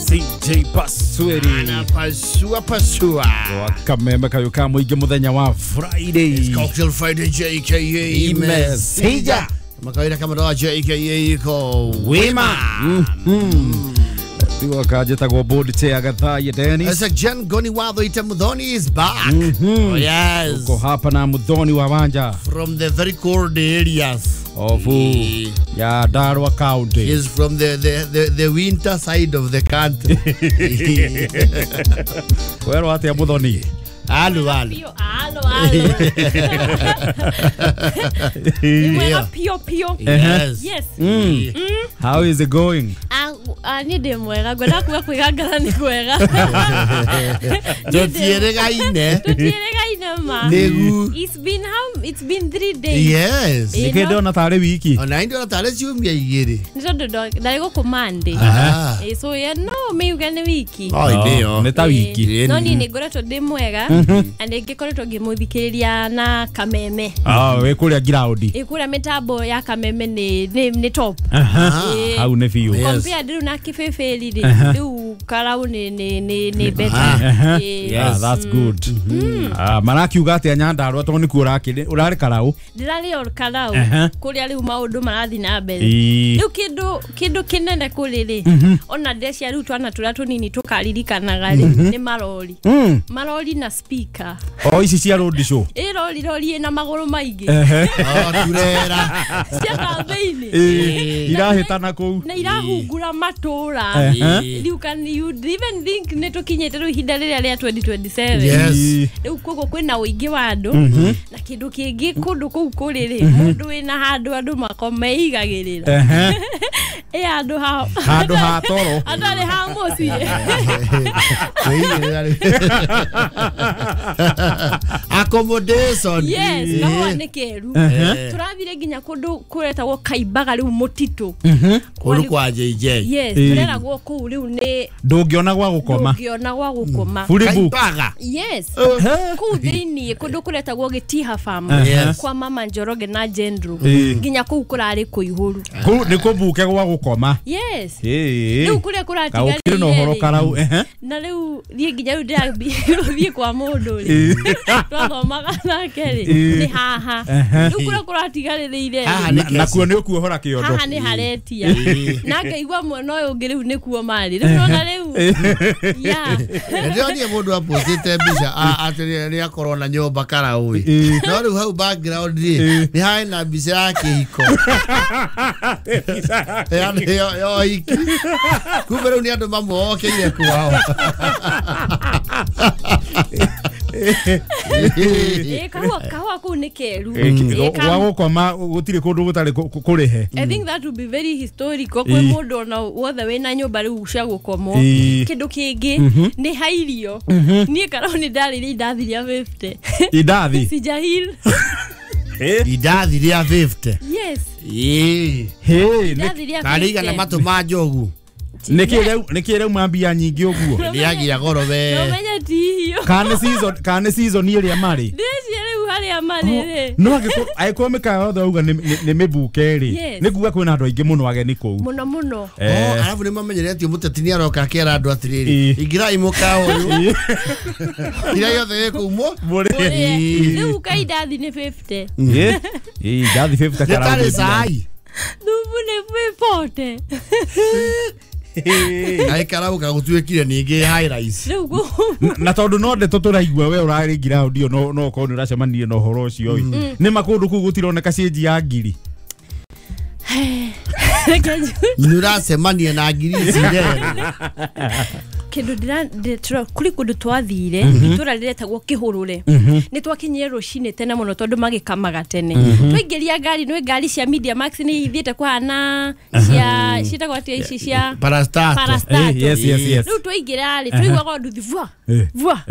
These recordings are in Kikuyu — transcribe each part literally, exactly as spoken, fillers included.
C J Pasweri Anapasua pasua Wakameme kayuka mwingi muthenya wa Friday. It's Cocktail Friday J K A Imesija. Kama kawaida kama doa J K A iko wima. Mm-hmm. Tiwa kajetagwo board chair Gathaiya Dennis. Asa Jen Goni Watho ita Muthoni is back. Mm-hmm. Oh, yes. Uko hapa na Muthoni wa Wanja from the very cold areas of ya Nyandarua County. He is from the, the, the, the winter side of the country. Wero atia Muthoni? Alu alu. Alo alo. Ni pio pio. Yes. Yes. Mm. Mm. How is it going? Ah, ah ni de mwega gwenda kuga kwigangara ni kwega. Tutieregaine. Tutieregaine ma. Negu. It's been how it's been three days. Yes. Nike ndona tare wiki. Ona ndio tare ciumia igiri. Ni tondu ndari guku Monday. Eh so yeah no me ugane wiki. Oh ndio. Ni ta wiki. No ni ni ngoretwo ndi mwega. And ngikoretwo ngimuthikiriria na Kameme. Ah we kuria ground. Ĩ kuria mitambo ya Kameme ni ni top. Hau ni biũ. Compare ndiru na kibibiri ri riu karau ni ni ni ni better. Yeah, that's good. Ah marakiuga atia Nyandarua to nikuo urakiri urari karau. Ndirari o karau kuria riu maundu marathi na mbere. Riu kindu kindu kinene kuri ri ona ndecia riu twana turia tunini tukaririkanaga ri ni marori. Marori na speaker. Oh ici cia road show. Ĩ rori rori ina maguru maingi. Oh turera. Cia kambĩini. Irahĩtana kũu. Na irahungura matura. You can you even think nĩ tũkinyĩte rĩu ihinda rĩrĩa rĩa twenty twenty-seven. Yes. Rĩu koguo kwĩna ũingĩ wa andũ na kĩndũ kĩngĩ kũndũ kũu kũrĩ rĩ mũndũ wĩna handũ andũ makomeigagĩrĩra. Ĩ handũ ha handũ ha toro. Atarĩ ha mũciĩ. Accommodation. Yes, kahũa nĩ keru. Tũrathire nginya kũndũ kũretagwo Kaimbaga rĩu mũtitũ. Kũndũ kwa J J. Yes, tũreragwo kũu rĩu nĩ ndũngĩona gwa gũkoma. Ndũngĩona gwa gũkoma. Kaimbaga. Yes. Kũu thĩinĩ kũndũ kũretagwo Gĩtiha Farm kwa Mama Njoroge na Jendro. Nginya kũu kũrarĩ kũihũru. Kũu nĩ kũbuke gwa gũkoma. Yes. Rĩu kũrĩa kũratigarire. Kaũkĩrĩ na ũhoro karau. Na rĩu thiĩ nginya rĩu ndĩrathiĩ kwa mũndũ rĩ. Twathomaga nake rĩ nĩ haha. Rĩu kũrĩa kũratigarĩrĩire. Nakuo nĩ ũkuohora kĩondo. Haha nĩ haretia. Na ngaigua mwena ũyũ ũngĩ rĩu nĩkuo marĩ. Rĩu nona rĩu. Yeah. Ndĩronire mũndũ apostĩte mbica atĩ nĩ akorwo na nyũmba karau ĩ. No rĩu hau background rĩ nĩ harĩ na mbica ya kĩhiko. Ya ya hiki. Kumbe rĩu nĩ andũ mamuokeire kwao. Eh kahua kahua kuu nĩ keru. Gwa gũkoma gũtirĩ kũndũ gũtarĩ kũrĩhe. I think that would be very historical kwĩ mũndũ ona wothe wĩna nyũmba rĩu cia gũkomwo. Kĩndũ kĩngĩ nĩ ha irio. Niĩ karau nĩ ndarĩire indathi rĩa fifty. Indathi? Sijahil. Indathi rĩa fifty. Yes. Ĩĩ. Hey, tarĩ igana matũ ma njogu. Nĩkĩ rĩu nĩkĩ rĩu mambia nyingĩ ũguo? Nĩagia goro we. No menye ti irio. Kana season kana season ĩrĩa marĩ. Ndĩcie rĩu harĩa marĩ rĩ. No angĩkorwo angĩkorwo mĩkawa yothe auga nĩ mĩbuke rĩ. Nĩ kuga kwĩna andũ aingĩ mũno ageni kũu. Mũno mũno. Oh, arabu nĩ mamenyerete mũteti nĩ aroka akera andũ atĩrĩrĩ. Ingĩrai mũkawa ũyũ. Ira yothe ĩkũumwo. Rĩu ka indathi nĩ fifty. Ĩ. Ĩ indathi fifty karau. Nĩ tarĩ cai. Thubu nĩ forty. Ai karau kagutuikire ningi high rise. Na tondu no ndeto turaigua we urari ground iyo no no ko nuracemanie na uhoro ucio ii. Ni makundu kuu gutironeka cenji ya ngiri. Nuracemania na ngiri ici rero. Kindu ndira kuri kundu twathire itura riretagwo Kihurure ni twakinyire rucini tene muno tondu magikamaga tene twaingiria ngari ni ngari cia Media Max ni ithiete kuhana cia cietagwo atia ici cia Parastato. Yes yes yes. Riu twaingira ri twaiguaga nduthi vua vua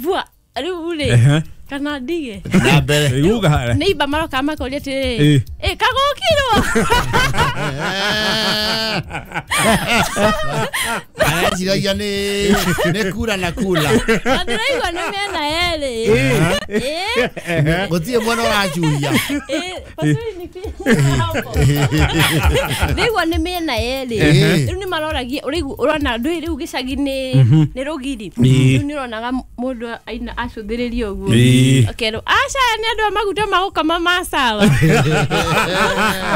vua riu ri Kana ndige. Na mbere. Uga. Neighbor maroka makoria atĩrĩrĩ. Eh kagũkirwo. Areciria nĩ nĩ kura na kula. Na ndĩraigua nĩ mĩena yerĩ. Eh. Gũtirĩ mwena ũracuria. Eh, pasuri ni hapo. Ndĩraigua nĩ mĩena yerĩ. Rĩu nĩ maroragia ũraigua ũrona ndũĩ rĩu gĩcagi nĩ nĩ rũgiri. Rĩu nĩ ũronaga mũndũ aina acũthĩrĩria ũguo. Akerwo aca nĩ andũ a maguta magũkama masawa.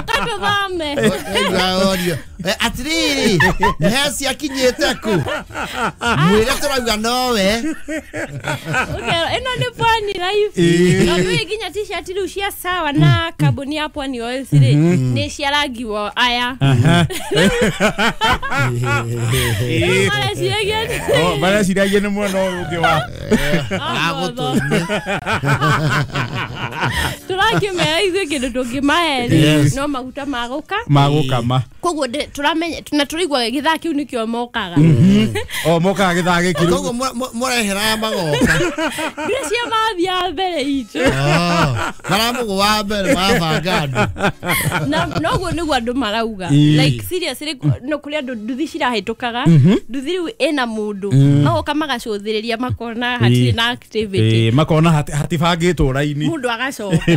Tũthome. Atiriri nĩ ciakinyĩte kũ mwĩre tũrauga nowe. Ũkerwo ĩno nĩ Pwani life. No ndũĩ nginya t-shirt rĩu cia sawa na kambuni ya Pwani Oils rĩ nĩ cia rangi wa aya. Rĩu mareciragia Oh, mareciragia nĩ mwena ũyũ ũngĩ wa agũtũine. Tũrakĩmera ithuĩ kĩndũ tũngĩmahe no maguta magũka magũkama. Koguo tũramenya na tũraigua gĩthaa kĩu nĩkĩo mokaga. O mokaga gĩthaa gĩkĩ rĩu. Koguo mũrehera magoka. Mbia cia mathiaga mbere itũ. Maramũgũ wa mbere marabanga andũ. Na noguo nĩguo andũ marauga. Like seriously no kũrĩ andũ nduthi cirahĩtũkaga. Nduthi rĩu ĩna mũndũ. Magoka magacũthĩrĩria makona hatirĩ na activity. Makona hatibangĩtwo raini. Mũndũ agacoka.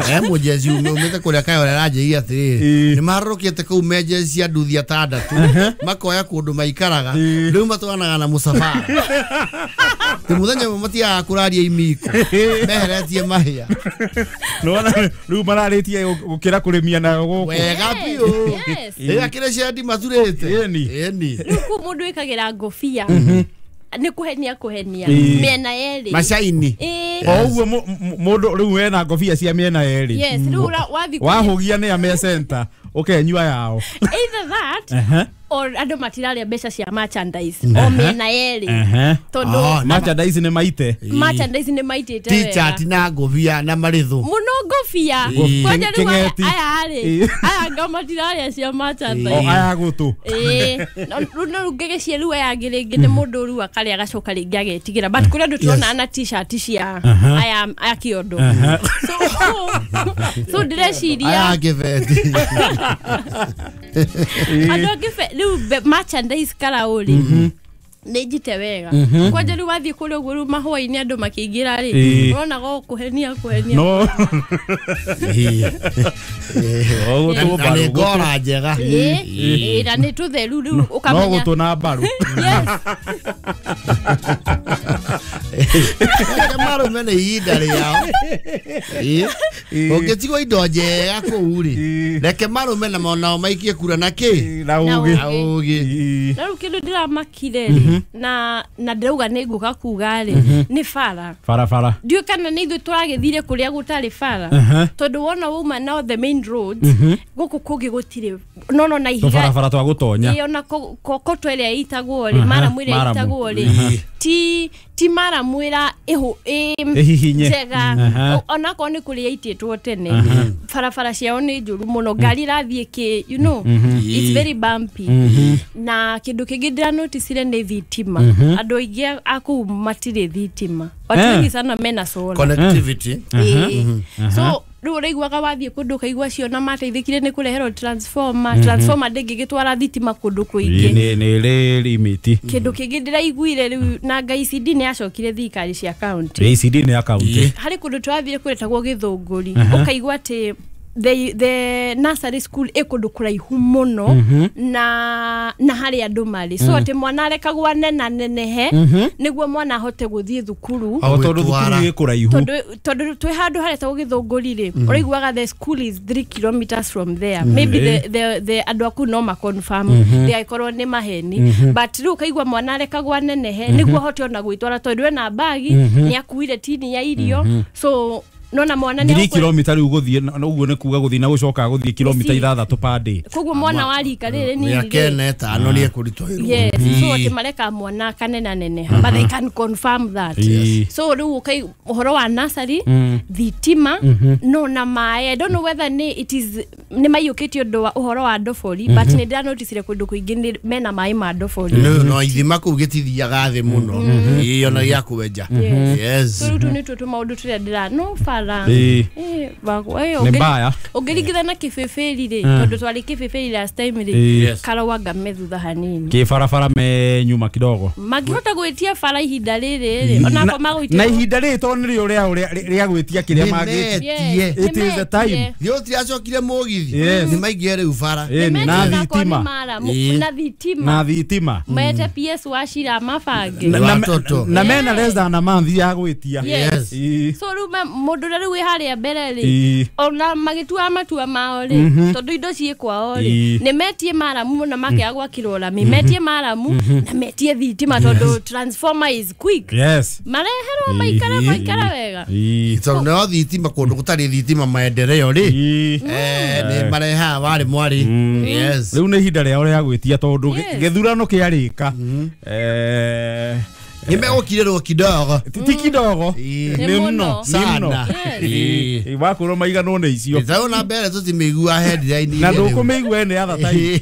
Eh mũjeci umĩte kũrĩa Kayore aranjĩire atĩrĩrĩ nĩ maharũrũkĩte kũu menjeci cia nduthi atandatũ makoya kũndũ maikaraga rĩu matwaranaga na mũcabara. Ti mũthenya ũmwe matiagaga kũraria imiko meheretie mahĩa. Nĩwona rĩu mararĩtie gũkĩra kũrĩmia nayo gũkũ. Wega biũ. Ĩ akĩrĩ cendi maturĩte. Ĩni. Ĩni. Rĩu kũu mũndũ wĩkagĩra ngũbia nĩ kũhenia kũhenia mĩena yerĩ. Macaini. O ũguo mũndũ rĩu wena ngobia cia mĩena yerĩ. Yes, rĩu wathiĩ wahũgia nĩ a me center ũkenyua yao. Either that or andũ matirarĩa mbeca cia merchandise o mĩena yerĩ. Tondũ merchandise nĩ maite. Merchandise nĩ maitĩte wega. T-shirt na ngobia na marĩthũ. Mũno ngobia. Kwanja rĩu aya rĩ aya nga matirarĩa cia merchandise. O aya gũtũ. Ĩĩ. Rĩu no ngĩgĩcie rĩu aya angĩ rĩngĩ nĩ mũndũ rĩu akarĩa agacoka rĩngĩ agetigĩra. But kũrĩ andũ tũrona na t-shirt cia aya aya kĩondo. So so ndĩreciria aya ngĩbeti. Andũ angĩ rĩu merchandise karaũrĩ nĩ njite wega. Kwanja rĩu wathiĩ kũrĩa ũguo rĩu mahũa-inĩ andũ makĩingĩra rĩ ũronaga o kũhenia kũhenia. No. Na nĩ ngora njega. Ĩĩ na nĩ tũtheru rĩu ũkamenya. No gũtũ na mbaru. Yes. Reke marũme nĩ ihinda rĩao. Ũngĩtigwo indo njega kũu rĩ reke marũme na nao maikie kura na kĩ na ũgĩ. Na ũgĩ. Na rĩu kĩndũ ndĩramakire rĩ na na ndĩrauga nĩ ngũka kuga rĩ nĩ bara. Barabara. Ndiũĩ kana nĩ ithuĩ tũragĩthire kũrĩa gũtarĩ bara. Tondũ wona wauma na the main roads gũkũ kũngĩ gũtirĩ no no na ihiga. Tũbarabara twa gũtonya. Ĩĩ ona kokoto ĩrĩa ĩtagwo rĩ maramu ĩrĩa ĩtagwo rĩ ti ti maramu ĩra ĩhũ ĩhihinye njega onakorwo nĩ kũrĩa ĩitĩtwo tene barabara ciao nĩ njũru mũno ngari irathiĩ kĩ you know it's very bumpy. Na kĩndũ kĩngĩ ndĩranoticire nĩ thitima. Andũ aingĩ a kũu matirĩ thitima. Watu wengi sana mena solar connectivity. So rĩu ũraiguaga wathiĩ kũndũ ũkaigua ciona mateithĩkire nĩ kũreherwo transformer. Transformer ndĩngĩgĩtwara thitima kũndũ kũingĩ. Nĩ nĩ rĩ limit. Kĩndũ kĩngĩ ndĩraiguire rĩu na I C D nĩ yacokire thirikari cia county. I C D nĩ ya county. Harĩ kũndũ twathire kũretagwo Gĩthũngũri ũkaigua atĩ the the nursery school ĩ kũndũ kũraihu mũno na na harĩa andũ marĩ so atĩ mwana arekagwo anena nenehe nĩguo mwana ahote gũthiĩ thukuru. O tondũ thukuru ĩ kũraihu. Tondũ tondũ twĩ handũ haretagwo Gĩthũngũri rĩ ũraiguaga the school is three kilometers from there. Maybe the the the andũ aku no ma confirm ndĩgagĩkorwo nĩ maheni but rĩu ũkaigua mwana arekagwo anenehe nĩguo ahote ona gwĩtwara tondũ ena bagi nĩ akuire tini ya irio so Nona mwana nĩ ngiri kilomita rĩu gũthiĩ na ũguo nĩ kuga gũthiĩ na gũcoka gũthiĩ kilomita ithathatũ per day. Koguo mwana wa rika rĩrĩ nini mĩaka ĩna ĩtano nĩ ekũritũhĩrwo. Yes, so atĩ mareka mwana kanena neneha, but they can confirm that. So rĩu ũkai ũhoro wa nursery, thitima no na maĩ. I don't know whether nĩ it is nĩ maiyũkĩtie ũndũ wa ũhoro wa ndobori, but nĩ ndĩranoticire kũndũ kũingĩ nĩ mena maĩ ma ndobori. No no ithima kũu gĩtithiaga thĩ mũno ĩĩ ona gĩa kwenja. Yes. So rĩu tũ nĩtuo tũmaũndũ tũrĩa ndĩra no bara Ĩĩ. eh bakwa eh Nĩ mbaya. ũngĩringithana kĩbĩbĩri rĩ, tondũ twarĩ kĩbĩbĩri last time rĩ, Yes. karauanga me thutha hanini Kĩ barabara me nyuma kidogo. mangĩhota gwĩtia bara ihinda rĩrĩ rĩ, onako magũitia Na ihinda rĩrĩ tondũ nĩrĩo rĩao rĩa rĩa gwĩtia kĩrĩa mangĩtia. Nĩmetie. It is the time. Thiĩ ũtiracokire mũgithi Yes. nĩ maingĩre rĩu bara. Ĩni, na thitima. Ĩĩ. na thitima Na thitima. mete P S wa Shira mabange. Na- na- Watoto. Na mena less than a month ya gwĩtia. Yes. Ĩĩ. So rĩu me- mũndũ ũrĩa rĩu wĩ harĩa mbere rĩ, Ĩĩ. ona magĩtua matua mao rĩ, tondũ indo ciĩ kwao rĩ, Ĩĩ. nĩ metie maramu na makĩaga gwakĩrwo rami, metie maramu na metie thitima tondũ transformer is quick. Yes. Mareherwo maikara Ĩĩ. maikara wega. Ĩĩ. Tondũ nĩo thitima kũndũ gũtarĩ thitima maendeleo rĩ, Ĩĩ. eh, nĩ marehaga warĩ mwarĩ. Yes. Rĩu nĩ ihinda rĩao rĩa gwĩtia tondũ Yes. gĩthurano kĩarĩka. Eh, Nĩ megũkirĩrwo kidogo. ti ti kidogo. Ĩĩ. Nĩ Nĩ mũno. mũno. Nĩ mũno. Sana. Yes. Ĩĩ. Wakwĩrwo maiganwo nĩ icio. Nĩ na mbere tũtimĩiguaga headline Na iria rĩu. ndũkũmĩigua any other time.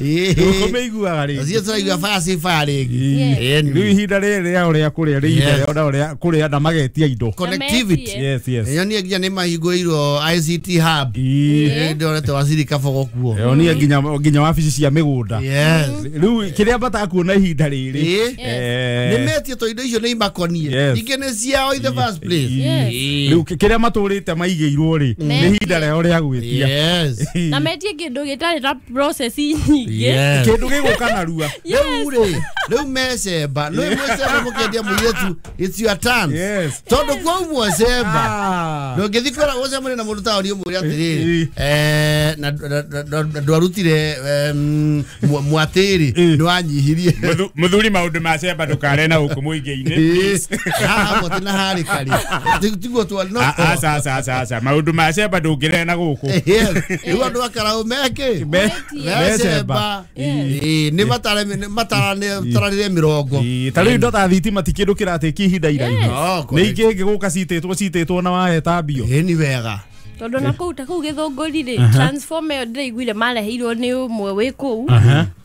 Ĩĩ. Ndũkũmĩiguaga rĩngĩ. Ũcio tũraigua fire si fire rĩngĩ. Yes. Ĩĩ. Rĩu ihinda rĩrĩ rĩao rĩa kũrĩa rĩ ihinda Yes. rĩao nao rĩa kũrĩa na magetia indo. Connectivity. Yes, yes. Nyonie nginya nĩ mahingũrĩirwo I C T hub. Ĩĩ. Ĩĩ, ndorete waziri Kabogo kuo. Yonie nginya nginya wabici cia mĩgũnda. Yes. Rĩu kĩrĩa batakuona ihinda rĩrĩ. Ĩĩ. Eh, Nĩ metie to indo icio nĩ imakonie. Yes. Ingĩ nĩ ciao in the first place. Yes. Rĩu kĩrĩa matũrĩte maigĩirwo rĩ nĩ ihinda rĩao rĩa gwĩtia. Yes. Na metie kĩndũ gĩtarĩ na process nyingĩ. Yes. Kĩndũ gĩgũka narua. Rĩu rĩ, rĩu mecemba, nĩ mwecemba mũkĩendia mũirĩtu, it's your turn. Yes. Tondũ kwaumwo cemba. Ah. Ndũngĩthiĩ kwĩra gũcemania na mũndũ taũni ũmwĩre atĩrĩrĩ, Ĩĩ. eh, na na- na- na ndwarutire em, mwa- mwatĩrĩ Ĩĩ. nĩwanyihirie. Muthuri maundu ma cemba ndukare na gũkũ mũingĩ-inĩ. Haha mwatĩ na harĩ karĩ. Tiguo twarĩ no. Aca aca aca aca maundu ma cemba ndũngĩrehe na gũkũ. Yes. Rĩu andũ a Karaũ mekĩ? Me- Mecemba. Ĩĩ, nĩ matare mataranĩre mĩrongo. Ĩĩ, ta rĩu indo ta thitima ti kĩndũ kĩratĩkia ihinda iraihu. Oh, Nĩ correct. ingĩ ĩngĩgũka citĩtwo citĩtwo na wahetambio. Ĩĩ, nĩ wega. Tondũ na kũu ta kũu gĩthũngũri rĩ, transformer ĩyo ndĩraiguire mareheirwo nĩ ũmwe wĩ kũu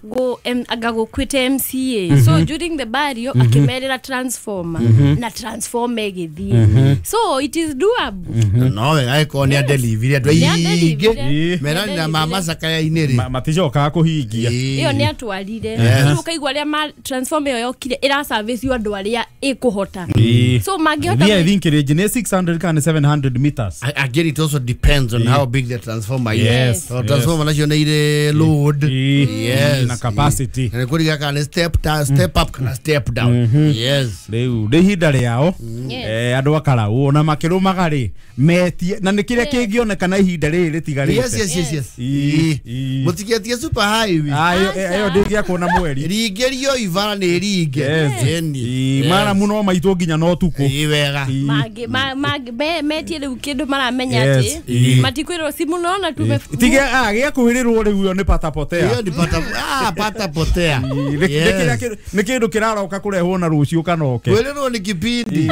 gũ em- anga gũkuĩte M C A. So during the burial akĩmerĩra transformer na transformer ĩgĩthiĩ. So it is doable. No wega ĩkorwo nĩ adelivire andũ Nĩ aingĩ. adelivire. Merani na macakaya-inĩ rĩ. Ma- Maticokaga kũhingia. Ĩĩ. Ĩyo nĩ atwarire. Yes. Rĩu ũkaigua arĩa ma transformer ĩyo yokire ĩraservice andũ arĩa ĩkũhota. Ĩĩ. So mangĩhota Niĩ I think range nĩ six hundred kana seven hundred meters. I- Again, it also depends on how big the transformer is. Yes. So transformer nacio nĩ irĩ load. Ĩĩ. Yes. Na capacity. Na nĩ kũringa kana nĩ step down, step up kana step down. Yes. Rĩu nĩ ihinda rĩao Yes. eh, andũ a Karaũ ona makĩrũmaga rĩ metie na nĩ kĩrĩa kĩngĩoneka na ihinda rĩrĩ rĩtigarĩte. Yes, yes, yes, yes. Ĩĩ. Ĩĩ. Ĩĩ. Mũtigetie super highway. Ah, ĩyo ĩyo ndĩngĩakwo na mweri. Ringĩrio ibara nĩ ringe. Yes. Ĩni. Ĩĩ, maramu no maitwo nginya na ũtukũ. Ĩĩ, wega. Ĩĩ. Mangĩ- ma- mangĩ- me- metie rĩu kĩndũ maramenya Yes. atĩ Ĩĩ. matikwĩrwo simu nona tume Tige ah gĩakuhĩrĩrwo rĩu ĩyo nĩ patapotea. Ĩyo nĩ pata ah pata potea. Ĩĩ, nĩ- nĩ kĩrĩa kĩ- nĩ kĩndũ kĩraroka kũrehwo na rũciũ kana oke. Kwĩrĩrwo nĩ kipindi.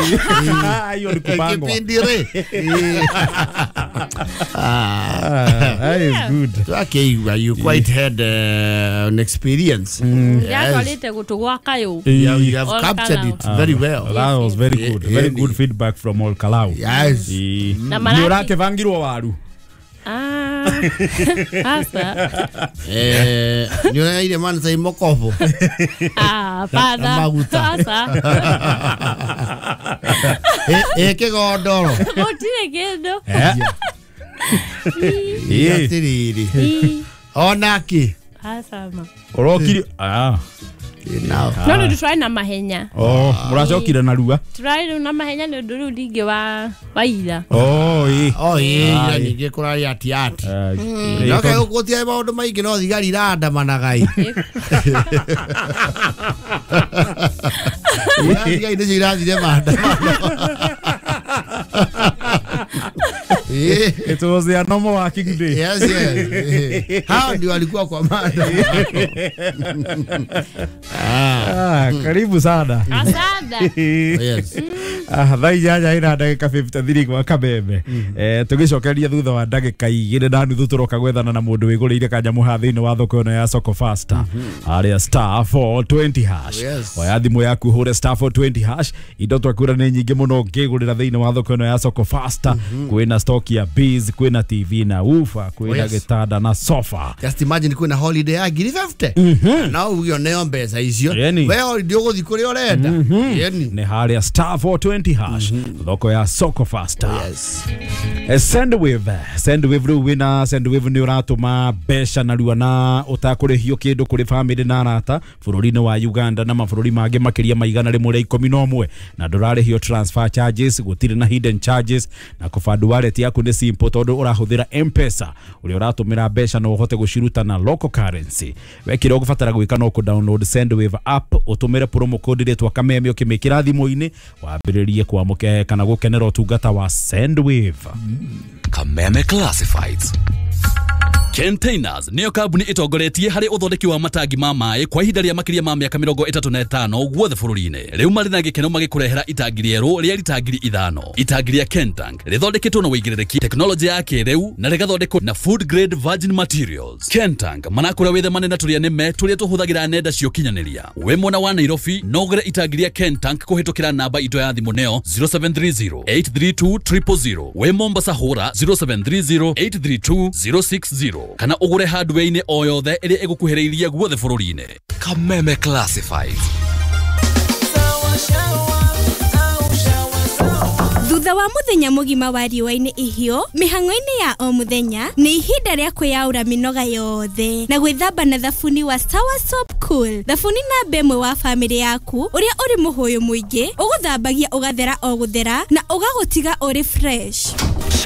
Ah, hiyo ni kupangwa. Kipindi rĩ. Ĩĩ. Ah. Ah, that is good. Twakĩigua you quite had uh, an experience. Ndĩratwarĩte gũtũ gwa kayũ. You, you have All captured Kalau. it very well. That was very good. Very Yeah. good feedback from all Kalau. Yes. Ĩĩ. Na Nĩ maraki- ũrakĩbangirwo waru. Ah, asa. Eh, nĩ ũraire man sai mokobo. Ah, hapana. Na maguta. Asa. Eh, eh kĩgondoro. Gũtirĩ kĩndũ. Eh? Ĩĩ. Atĩrĩrĩ. Ĩ, Onakĩ. asa ma. Ũrokire ah. Nao. No rĩu tũrarĩ na mahenya. Oh, mũracokire narua. Tũrarĩ rĩu na mahenya nĩ ũndũ rĩu ningĩ wa wa ira. Oh, ĩĩ. Oh, ĩĩ, ira ningĩ kũrarĩ ati ati. Ah, ĩĩ, No kaĩ gũtiarĩ maũndũ maingĩ no thigari irandamanaga ĩ. Thigari nĩcio irathire maandamano. It was their normal working day. Yes, yes. Hao ndio walikuwa kwa mada. Ah, karibu sana. Asante. Yes. Ah, thaa inyanya ina ndagĩka fifty-three gwa Kameme. Eh, tũgĩcokeria thutha wa ndagĩka igĩrĩ na nuthu tũroka gwethana na mũndũ wĩgũrĩire kanyamũ haha thĩinĩ wa thoko ĩno ya Soko Faster. Harĩa star four twenty hash. Yes. Oya thimũ yaku hũre star four twenty hash. Indo twakwĩra nĩ nyingĩ mũno ũngĩgũrĩra thĩinĩ wa thoko ĩno ya Soko Faster. Kwĩna stock ya bees, kwĩna T V na woofer, kwĩna Yes. gĩtanda na sofa. Just imagine kwĩna holiday ya ngiri fifty. Na uge oneo mbeca icio. Yeni. We holiday ũgũthiĩ kũrĩa ũrenda. Yeni. Nĩ harĩa star four twenty hash. Thoko ya Soko Faster. Yes. Eh, Sendwave, Sendwave rĩu wĩna Sendwave nĩ ũratũma mbeca narua na ũtakũrĩhio kĩndũ kũrĩ famĩlĩ na arata bũrũri-inĩ wa Uganda na mabũrũri mangĩ makĩria ma igana rĩmwe rĩa ikũmi na ũmwe na ndũrarĩhio transfer charges, gũtirĩ na hidden charges na kũband wallet yaku nĩ simple tondũ ũrahũthĩra M-Pesa ũrĩa ũratũmĩra mbeca no ũhote gũciruta na local currency. We kĩrĩa ũgũbatara gwĩka no kũ-download Sendwave app ũtũmĩre promo code rĩtwa Kameme ũkĩmĩkĩra thimũ-inĩ wambĩrĩrie kwamũke kana gũkenera ũtungata wa Sendwave. Kameme Classifieds. Containers niyo kambuni itongoretie harĩ ũthondeki wa matangi ma maĩ kwa ihinda rĩa makĩria ma mĩaka mĩrongo ĩtatũ na ĩtano guothe bũrũri-inĩ. Rĩu marĩ na gĩkeno magĩkũrehera itangi rĩerũ rĩa rita ngiri ithano. Itangi rĩa Kentank rĩthondeketwo na ũigĩrĩrĩki tekinoronjĩ ya kĩrĩu na rĩgathondekwo na food grade virgin materials. Kentank manakũra wĩthemane na tũrĩa nĩme tũrĩa tũhũthagĩra nenda cia ũkinyanĩria. Wĩ mwena wa Nairobi no ũgũre itangi rĩa Kentank kũhĩtũkĩra namba itũ ya thimũ nĩyo zero seven three zero eight three two triple zero. Wĩ Mombasa hũra zero seven three zero eight three two zero six zero kana ũgũre hardware-inĩ o yothe ĩrĩa ĩgũkuhĩrĩirie guothe bũrũri-inĩ. Kameme Classifieds. Thutha wa muthenya mugima wa riũa-inĩ ihiũ mĩhang'o-inĩ ya o muthenya nĩ ihinda rĩa kwĩyaũra mĩnoga yothe na gwĩthamba na thabuni wa Sawa Soap Cool. Thabuni namba ĩmwe wa famĩlĩ yaku ũrĩa ũrĩ mũhũyũ mũingĩ ũgũthambagia ũgathera o gũthera na ũgagũtiga ũrĩ fresh.